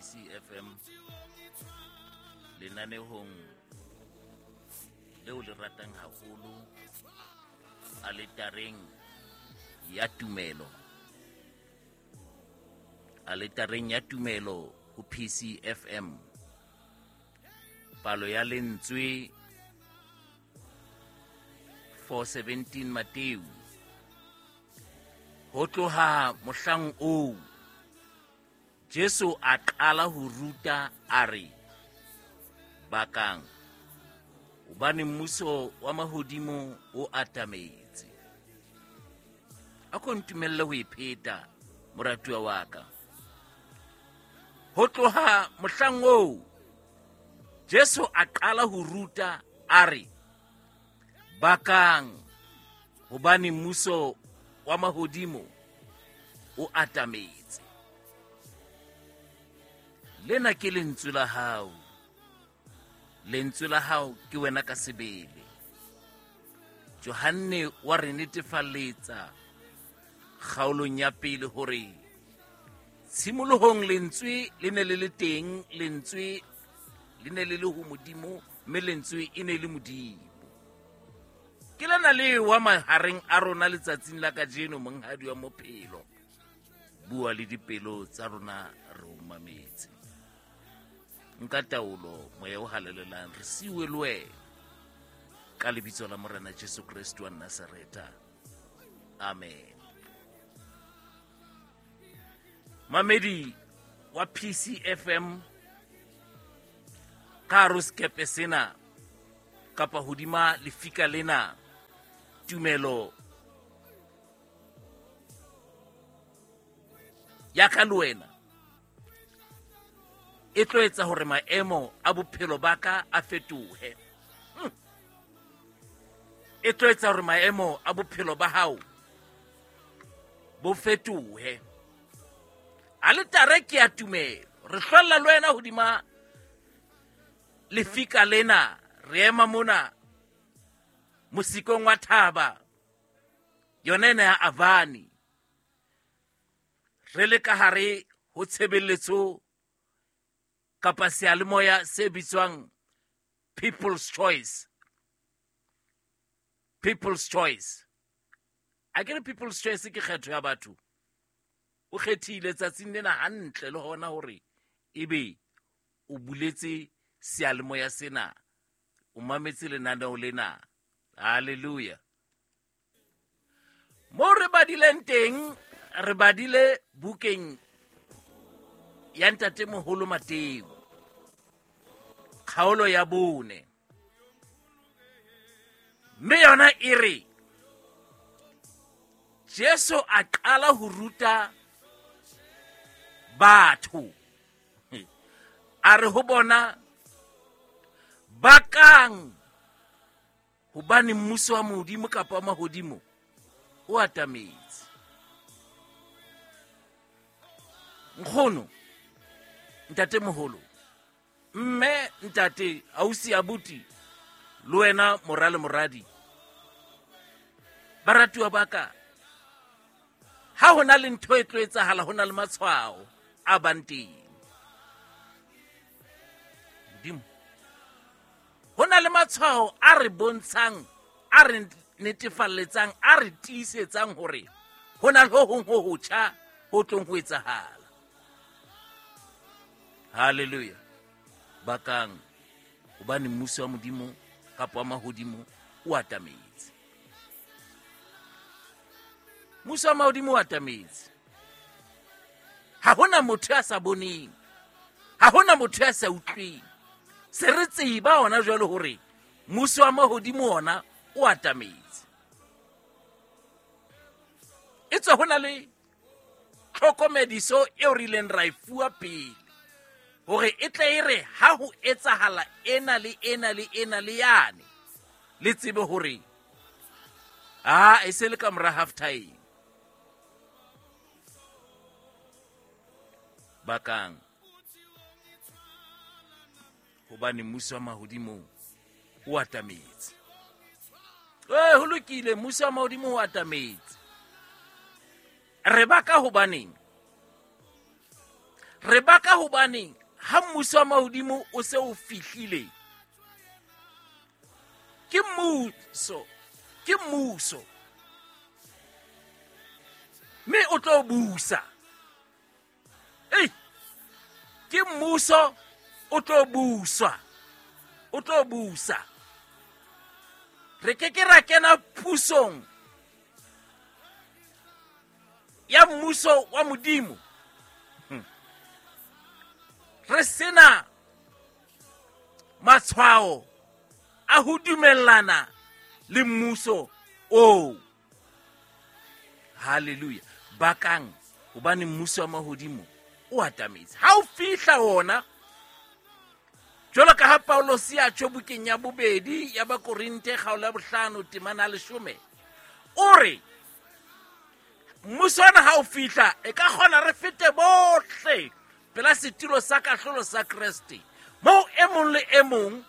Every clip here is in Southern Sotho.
PCFM lenanehong leo le ratang haholo, aletareng ya tumelo. Aletareng ya tumelo ho PCFM. Palo ya lentswe 417 Mateu. Ho tloha mohlang oo Jesu a qala ho ruta a re, Bakang, hobane mmuso wa mahodimo o atametse. A ko ntumelle ho e pheta, moratuwa wa ka. Ho tloha mohlang oo Jesu a qala ho ruta a re, Bakang, hobane mmuso wa mahodimo o atametse. Lena ke lentswe la hao. Lentswe la hao ke wena ka sebele. Johanne wa re netefaletsa kgaolong ya pele hore tshimolohong lentswe le ne le le teng, lentswe le ne le le ho Modimo, mme lentswe e ne le Modimo. Ke lena le wa mahareng a rona letsatsing la kajeno, monghadi wa mophelo. Bua le dipelo tsa rona re o mametse. Nka taolo, moya o halalelang, re siwe le wena. Ka lebitso la Morena Jesu Kreste wa Nazaretha. Amen. Mamedi wa PCFM ka hare ho sekepe sena kapa hodima lefika lena, tumelo ya ka le wena e tlo etsa hore maemo a bophelo ba ka a fetohe. E tlo etsa hore maemo a bophelo ba hao bo fetohe. Aletare ke ya tumelo. Re hlwella le wena hodima lefika lena, re ema mona mosikong wa thaba yona ena ya Avani, re le ka hare ho tshebeletso kapa seyalemoya se bitswang People's Choice. People's Choice. A ke re People's Choice ke kgetho ya batho. O kgethile tsatsing lena hantle le hona hore ebe o buletse seyalemoya sena, o mametse lenaneo lena. Hallelujah. Mo re badileng teng, re badile bukeng ya Ntatemoholo Mateu, kgaolo ya 4. Mme yona e re Jesu a qala ho ruta batho, a re ho bona, bakang, hobane mmuso wa Modimo kapa wa mahodimo o atametse. Nkgono, ntatemoholo, mme, ntate, ausi, abuti, le wena mora le moradi, baratuwa ba ka, ha ho na le ntho e tlo etsahala, ho na le matshwao a bang teng. Modimo, ho na le matshwao a re bontshang, a re netefalletsang, a re tiisetsang hore ho na le ho hong ho hotjha ho tlong ho etsahala. Hallelujah. Bakang, hobane mmuso wa Modimo kapa wa mahodimo o atametse. Mmuso wa mahodimo o atametse. Ha hona motho ya sa boneng, ha hona motho ya sa utlweng. Se re tseba hona jwale hore mmuso wa mahodimo ona o atametse. E tswa ho na le tlhokomediso eo re ileng ra e fuwa pele hore e tle e re ha ho etsahala ena le ena le ena le yane, le tsebe hore a e se le ka mora half time. Bakang, hobane mmuso wa mahodimo o atametse. Ho lokile, mmuso wa mahodimo o atametse. Re baka hobaneng? Re baka hobane ha mmuso wa mahodimo o se o fihlile, ke mmuso, ke mmuso, mme o tlo busa. Ei, ke mmuso o tlo buswa, o tlo busa. Re ke ke ra kena pusong ya mmuso wa Modimo re sena matshwao a ho dumellana le mmuso oo. Haleluya. Bakang hobane mmuso wa mahodimo o atametse. Ha o fihla wona, jwalo ka ha Paulosi a tjho bukeng ya bobedi ya Bakorinthe kgaolo ya 5 temana ya 10, o re mmuso ona ha o fihla e ka kgona re fete bohle pela setulo sa kahlolo sa Kreste, moo e mong le e mong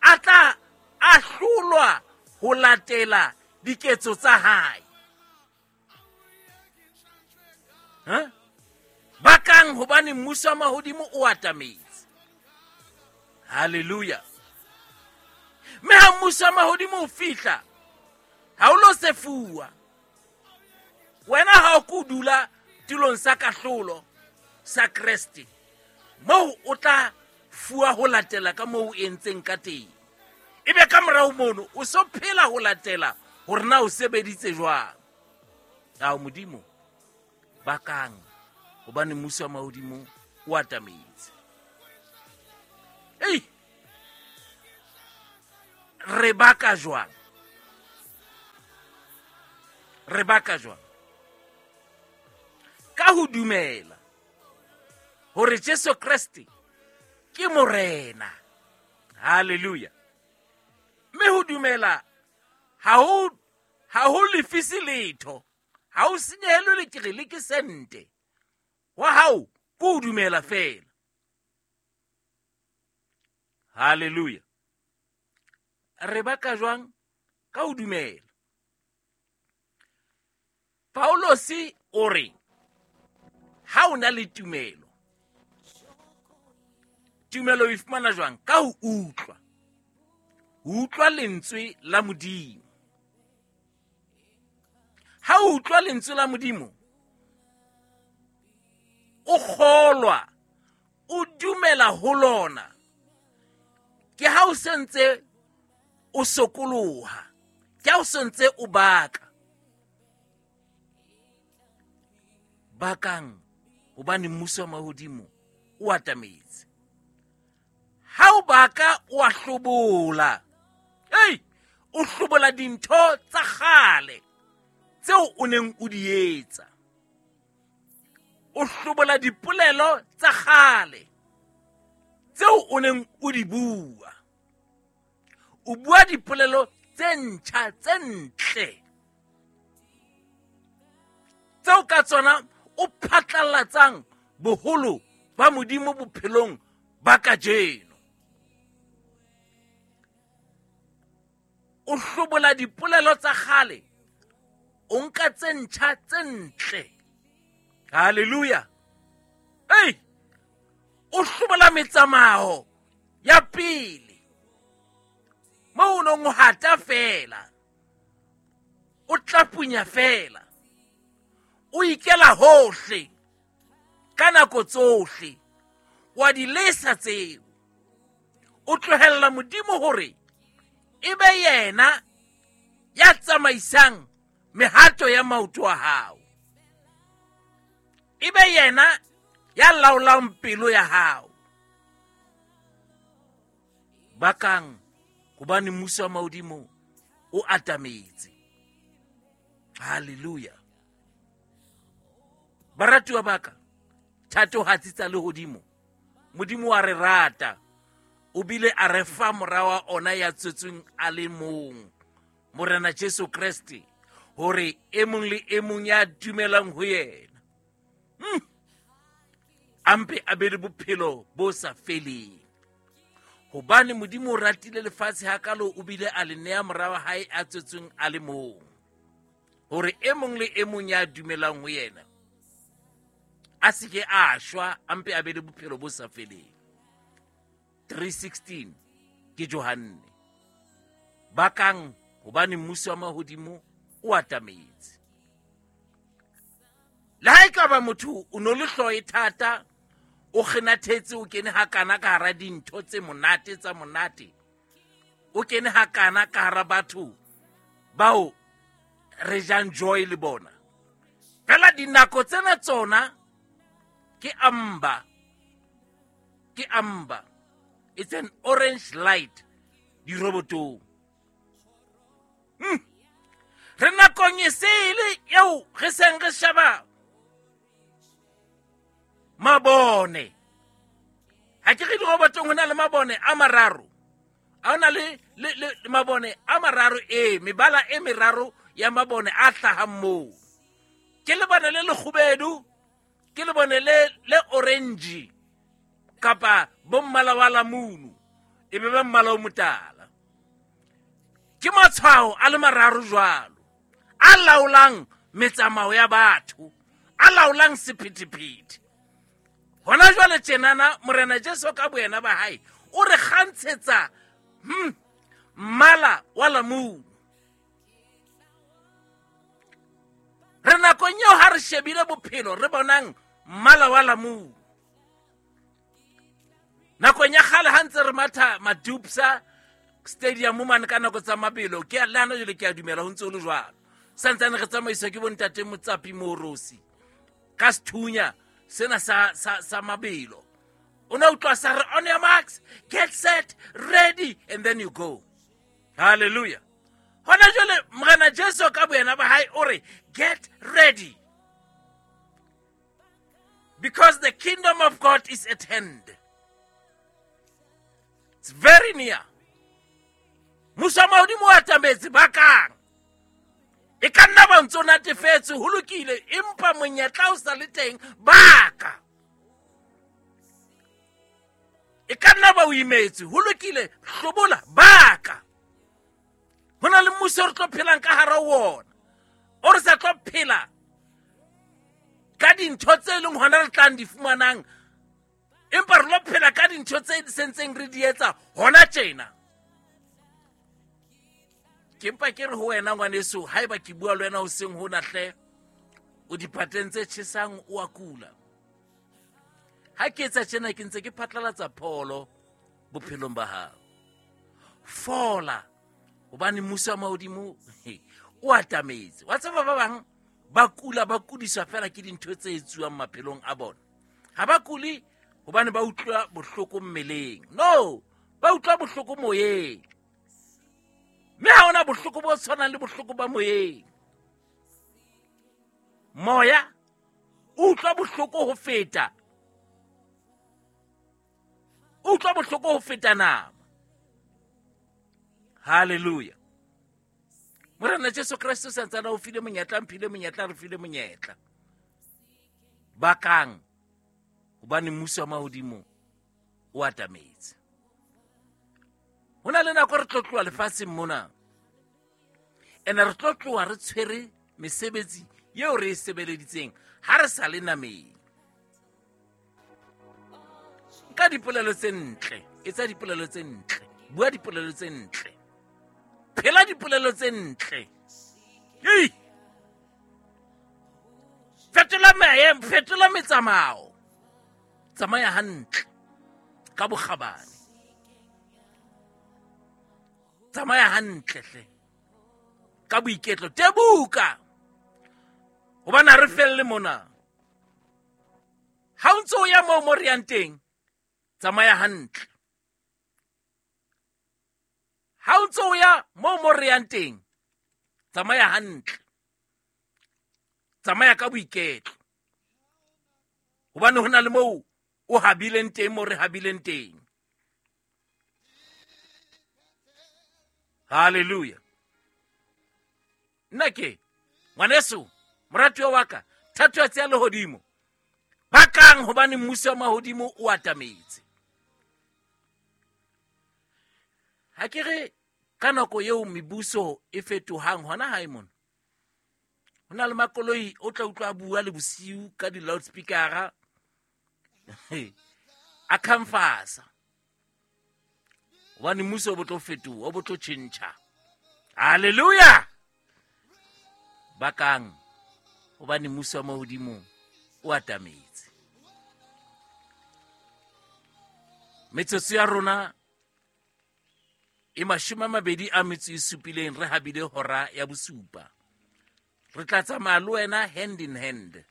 a tla ahlolwa ho latela diketso tsa hae. Ha? Bakang hobane mmuso wa mahodimo o atametse. Haleluya. Mme ha mmuso wa mahodimo o fihla, ha o lo sefuwa. Wena ha o ko dula tulong sa kahlolo sa Kreste, moo o tla fuwa ho latela ka moo o entseng ka teng. Ebe ka morao mono o so phela ho latela hore na o sebeditse jwang. Ao Modimo, bakang hobane mmuso wa mahodimo o atametse. Ei, re baka jwang? Re baka jwang? Ka ho dumela hore Jesu Kreste ke Morena. Haleluya. Mme ho dumela ha ho lefise letho, ha o senyehelwe le ke re le ke sente. Wa hao ke ho dumela feela. Haleluya. Re baka jwang? Ka ho dumela. Paulosi o re ha o na le tumelo, tumelo e fumana jwang? Ka ho utlwa, ho utlwa lentswe la Modimo. Ha o utlwa lentswe la Modimo, o kgolwa, o dumela ho lona, ke ha o sentse o sokoloha, ke ha o sentse o baka. Bakang hobane mmuso wa mahodimo o atametse. Ha o baka o a hlobola. Ei, o hlobola dintho tsa kgale tseo o neng o di etsa. O hlobola dipolelo tsa kgale tseo o neng o di bua. O bua dipolelo tse ntjha tse ntle tseo ka tsona o phatlallatsang boholo ba Modimo bophelong ba kajeno. O hlobola dipolelo tsa kgale, o nka tse ntjha tse ntle. Haleluya. Ei, o hlobola metsamao ya pele moo o nong o hata feela, o tlapunya feela, o ikela hohle ka nako tsohle, wa di lesa tseo. O tlohella Modimo hore e be yena ya tsamaisang mehato ya maoto a hao, e be yena ya laolang pelo ya hao. Bakang hobane mmuso wa mahodimo o atametse. Haleluya. Baratuwa baka, thatohatsi tsa lehodimo, Modimo wa re rata, o bile a re fa mora wa ona ya tswetsweng a le mong, Morena Jesu Kreste, hore e mong le e mong ya dumelang ho yena a mpe a be le bophelo bo sa feleng. Hobane Modimo o ratile lefatshe hakalo, o bile a le nea mora wa hae a tswetsweng a le mong, hore e mong le e mong ya dumelang ho yena A se ke a shwa, a mpe a be le bophelo bo sa feleng. 3:16 ke Johanne. Bakang hobane mmuso wa mahodimo o atametse. Le ha e ka ba motho o no le hlooho e thata, o kgenathetse, o kene hakana ka hara dintho tse monate tsa monate, o kene hakana ka hara batho bao re jang joy le bona. Fela dinako tsena tsona ke amber, ke amber. It's an orange light dirobotong. Re nakong e sele eo re seng re sheba mabone. Ha ke re dirobotong ho na le mabone a mararo. Ha hona le mabone a mararo, e mebala e meraro ya mabone a hlahang moo. Ke lebone le lekgubedu, ke lebone le orange kapa bo mmala wa lamunu, e be ba mmala o motala. Ke matshwao a le mararo jwalo a laolang metsamao ya batho, a laolang sephethephethe. Hona jwale tjenana Morena Jesu ka boyena ba hae o re kgantshetsa mmala wa lamunu. Re nakong eo ha re shebile bophelo re bonang mmala wa lamunu. Nakong ya kgale ha ntse re matha Madupsa Stadium mane ka nako tsa mabelo, ke le hana jwale ke a dumela ho ntse ho le jwalo. Santsane re tsamaiswa ke bontate Motsapi Morosi ka sethunya sena sa mabelo. O ne utlwa sa re on your marks, get set, ready, and then you go. Hallelujah. Hona jwale Morena Jesu ka boyena ba hae o re get ready, because the kingdom of God is at hand. It's very near. Mmuso wa mahodimo o atametse bakang. E ka nna ba ntso natefetse, ho lokile, empa monyetla o sa le teng, baka. E ka nna ba o imetse, ho lokile, hlobola, baka. Ho na le mmuso re tlo phelang ka hara wona, o re sa tlo phela ka dintho tse leng hona re tlang di fumanang, empa re lo phela ka dintho tse sentseng re di etsa hona tjena. Ke mpa ke re ho wena ngwaneso, haeba ke bua le wena hoseng hona hle, o diphateng tse tjhesang, o a kula. Ha ke etsa tjena ke ntse ke phatlalatsa pholo bophelong ba hao. Fola, hobane mmuso wa mahodimo o atametse. Wa tseba ba bang ba kula, ba kudiswa fela ke dintho tse etsuwang maphelong a bona. Ha ba kule hobane ba utlwa bohloko mmeleng. No, ba utlwa bohloko moyeng. Mme ha hona bohloko bo tshwanang le bohloko ba moyeng. Moya o utlwa bohloko ho feta. O utlwa bohloko ho feta nama. Hallelujah. Morena Jesu Kreste santsana o file monyetla, mphile monyetla, re file monyetla. Bakang hobane mmuso wa mahodimo o atametse. Ho na le nako re tlo tloha lefatsheng mona. Ene re tlo tloha re tshwere mesebetsi eo re e sebeleditseng ha re sa le nameng. Nka dipolelo tse ntle, etsa dipolelo tse ntle, bua dipolelo tse ntle, phela dipolelo tse ntle. Ei! Fetola maemo, fetola metsamao. Tsamaya hantle ka bokgabane. Tsamaya hantle hle ka boiketlo. Tebuka hobane ha re felle mona. Ha o ntse o ya moo mo re yang teng, tsamaya hantle. Ha o ntse o ya moo mo re yang teng, tsamaya hantle. Tsamaya ka boiketlo. Hobane ho na le moo o habileng teng, moo re habileng teng. Hallelujah. Nna ke ngwaneso, moratuwa wa ka, thatohatsi ya lehodimo. Bakang hobane mmuso wa mahodimo o atametse. Ha ke re ka nako eo mebuso e fetohang hona hae mona, Ho na le makoloi o tla utlwa a bua le bosiu ka di-loudspeakera a khamfasa hobane mmuso o bo tlo fetoha, o bo tlo tjhentjha. Halleluja! Bakang hobane mmuso wa mahodimo o atametse. Metsotso ya rona e 27 re habile hora ya bosupa. Re tla tsamaya le wena hand in hand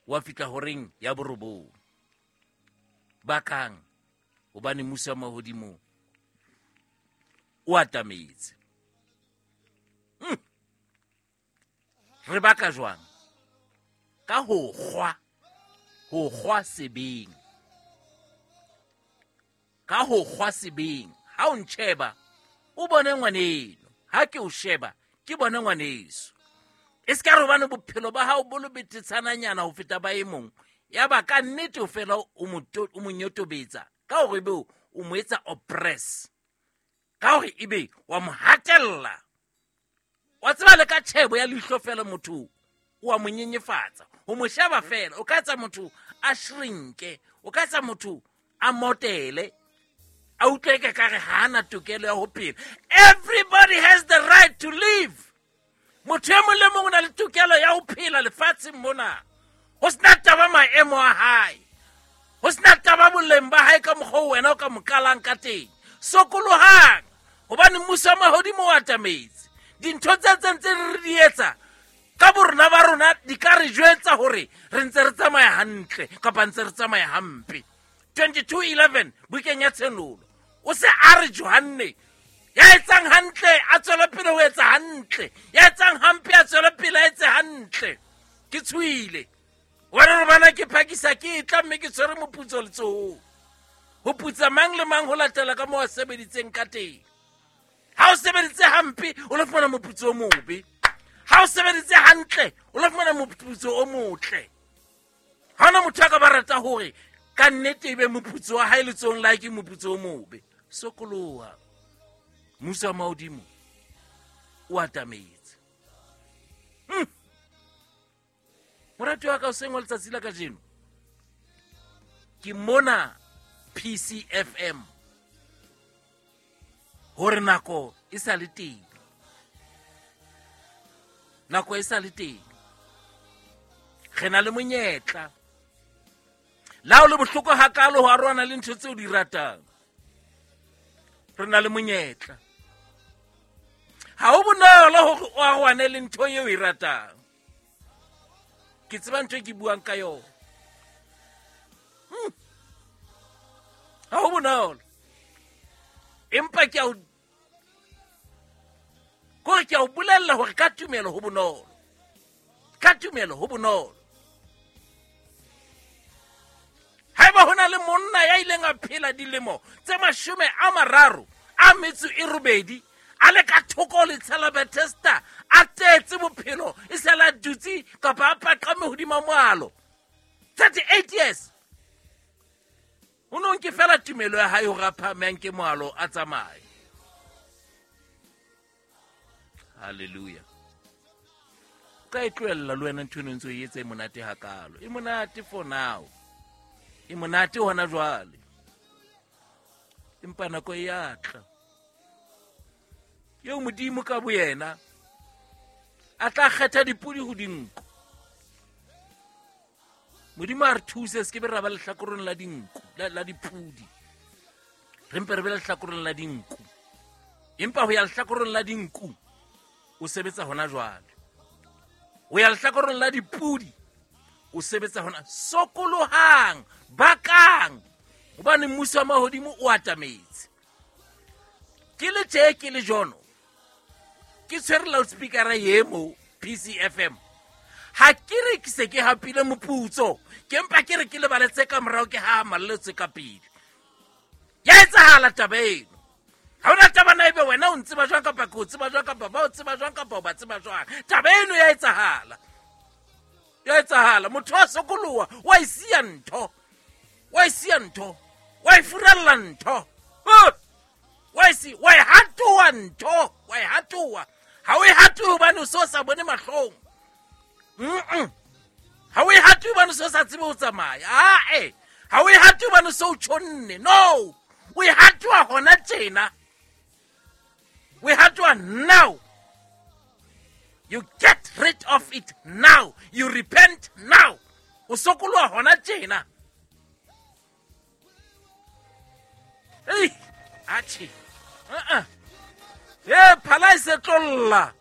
wa fihla horeng ya borobong. Bakang hobane mmuso wa mahodimo o atametse. Re baka jwang? Ka ho kgwa, ho kgwa sebeng. Ka ho kgwa sebeng. Ha o ntjheba, o bone ngwaneno. Ha ke o sheba, ke bone ngwaneso. E se ka re hobane bophelo ba hao bo le betetshananyana ho feta ba e mong, ya ba ka nnete o fela o mo nyotobetsa ka hore ebe o mo etsa oppress, ka hore ebe wa mo hatella. Wa tseba le ka tjhebo ya leihlo fela motho o a mo nyenyefatsa. Ho mo sheba fela o ka etsa motho a shrinke, o ka etsa motho a motele, a utlwe ka kare ha ana tokelo ya ho phela. Everybody has the right to live. Motho e mong le mong o na le tokelo ya ho phela lefatsheng mona, ho sena taba maemo a hae, ho sena taba boleng ba hae ka mokgwa o wena o ka mo qalang ka teng. Sokolohang hobane mmuso wa mahodimo o atametse. Dintho tse tse re di etsa ka borona ba rona di ka re jwetsa hore re ntse re tsamaya hantle kapa ntse re tsamaya hampe. 22:11 bukeng ya Tshenolo o se a re Johanne ya etsang hantle a tswele pele ho etsa hantle, ya etsang hampe a tswele pele a etse hantle. Ke tshohile hobane re bana ke phakisa ke tla mme ke tshwere moputso letsohong. Ho putsa mang le mang ho latela ka moo a sebeditseng ka teng. Ha o sebeditse hampe o lo fumana moputso o mobe, ha o sebeditse hantle o lo fumana moputso o motle. Ha hona motho a ka ba rata hore ka nnete ebe moputso wa hae letsohong la hae ke moputso o mobe. Sokoloha, mmuso wa mahodimo o atametse. Morati wa ka o seng wa letsatsi la kajeno, ke mona PCFM hore nako e sa le teng, nako e sa le teng. Re na le monyetla. La o le bohloko hakalo ho arohana le ntho tseo di ratang, re na le monyetla. Ha ho bonolo hore o arohane le ntho eo e ratang. Ke tseba ntho e ke buang ka yona. Ha ho bonolo, empa ke a o kore ke a o bolella hore ka tumelo ho bonolo, ka tumelo ho bonolo. Haeba ho na le monna ya ileng a phela dilemo tse 38 a le ka thoko le tshela Bethesda, a tetse bophelo e se la dutse kapa a paqame hodima moalo 38 years, o no nke fela tumelo ya hae hore a phahame a nke moalo a tsamaye. Hallelujah. O ka e tlohella le wena ntho eno ntse o e etsa e monate hakalo. E monate for now, e monate hona jwale, empa nako e a tla eo Modimo ka boyena a tla kgetha dipodi ho dinku. Modimo a re thuse se ke be ra ba lehlakoreng la dinku, la dipodi, re mpe re be lehlakoreng la dinku. Empa ho ya lehlakoreng la dinku o sebetsa hona jwale, ho ya lehlakoreng la dipodi o sebetsa hona. Sokolohang, bakang, hobane mmuso wa mahodimo o atametse. Ke le tje ke le jono, ke tshwere loudspeakera ye mo PCFM. Ha ke re ke se ke hapile moputso, ke mpa ke re ke lebale tse ka morao, ke ha malle tse ka pele. Ya etsahala taba eno. Ha hona taba na ebe wena o ntseba jwang kapa ke o tseba jwang kapa ba o tseba jwang kapa o ba tseba jwang. Taba eno ya etsahala. Ya etsahala. Motho wa sokoloha, wa e siya ntho. Wa e siya ntho. Wa e furalla ntho. Wa e si, wa e hatoha ntho. Wa e hatoha. Ha o e hatohe hobane o so sa bone mahlong. Ha o e hate hobane se o sa tsebe ho tsamaya. Ae, ha o e hate hobane se o tjhonne. No, o e hatiwa hona tjena. O e hatiwa now. You get rid of it now. You repent now. O sokoloha hona tjena. Ei, atjhe. Uh-uh. E, phala e se tlolla.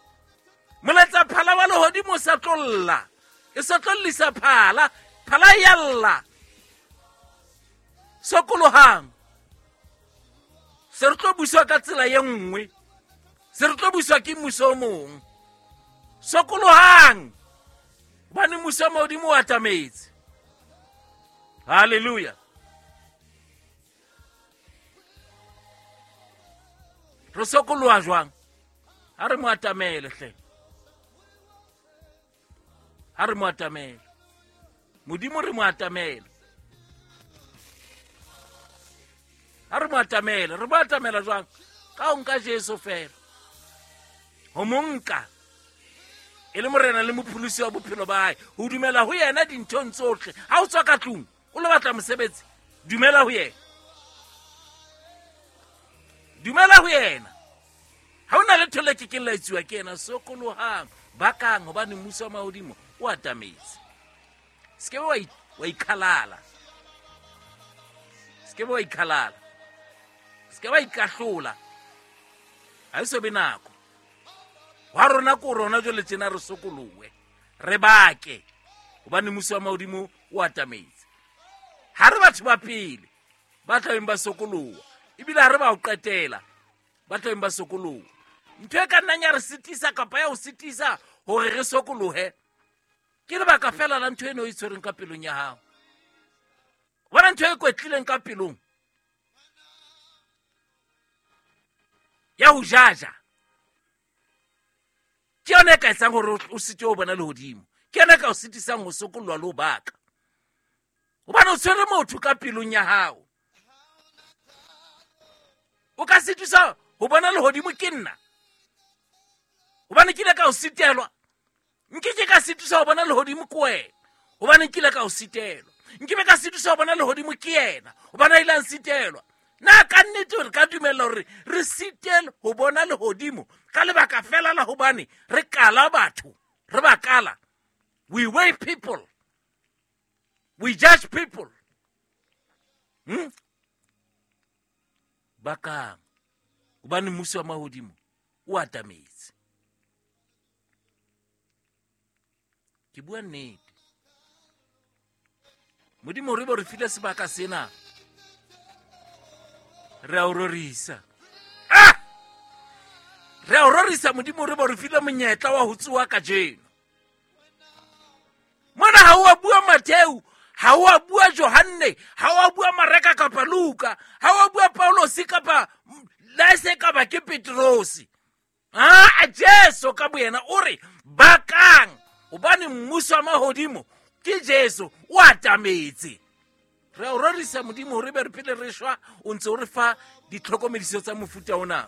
Moletsa phala wa lehodimo o sa tlolla. E se tlollisa phala. Phala e yalla. Sokolohang. Se re tlo buswa ka tsela ye nngwe. Se re tlo buswa ke mmuso o mong. Sokolohang. Hobane mmuso wa mahodimo o atametse. Hallelujah. Re sokoloha jwang? Ha re mo atamele hle. Ha re mo atamele. Modimo re mo atamele. Ha re mo atamele, re mo atamela jwang? Ka ho nka Jesu fela. Ho mo nka e le morena le mopholosi wa bophelo ba hae, ho dumela ho yena dinthong tsohle. Ha o tswa ka tlung o lo batla mosebetsi, dumela ho yena. Dumela ho yena. Ha o na letho le kekeng la etsuwa ke yena. Sokolohang, bakang, hobane mmuso wa mahodimo o atametse. Se ke wa ikhalala. Se ke wa ikhalala. Se ke wa ikahlola. Ha e so be nako. Wa rona ko rona jwale tjena re sokolohe, re bake, hobane mmuso wa mahodimo o atametse. Ha re batho ba pele ba tlabeng ba sokoloha, ebile ha re ba ho qetela ba tlabeng ba sokoloha. Ntho e ka nnang ya re sitisa kapa ya ho sitisa hore re sokolohe ke lebaka fela la ntho eno e tshwereng ka pelong ya hao. Bona ntho e kwetlileng ka pelong ya ho jaja, ke yona e ka etsang hore o site ho bona lehodimo. Ke yona e ka o sitisang ho sokollwa le ho baka, hobane o tshwere motho ka pelong ya hao. O ka sitisa ho bona lehodimo ke nna, hobane ke ile ka o sitelwa. Nke ke ka sitisa ho bona lehodimo ke wena, hobane nkile ka o sitelwa. Nke be ka sitisa ho bona lehodimo ke yena, hobane a ile a nsitelwa. Na ka nnete re ka dumella hore re sitelwe ho bona lehodimo ka lebaka fela la hobane re kala batho, re ba kala? We weigh people, we judge people. Bakang, hobane mmuso wa mahodimo o atametse. Ke bua nnete. Modimo re bo re file sebaka sena, re a o rorisa. Re a o rorisa Modimo, re bo re file monyetla wa ho tsoha kajeno. Mona ha o a bua Mattheu, ha o a bua Johanne, ha o a bua Mareka kapa Luka, ha o a bua Paulosi kapa la se ka ba ke Petrosi. A Jesu ka boyena o re bakang, hobane mmuso wa mahodimo ke Jesu o atametse. Re a o rorisa Modimo hore be re pele re shwa, o ntse o re fa ditlhokomediso tsa mofuta ona.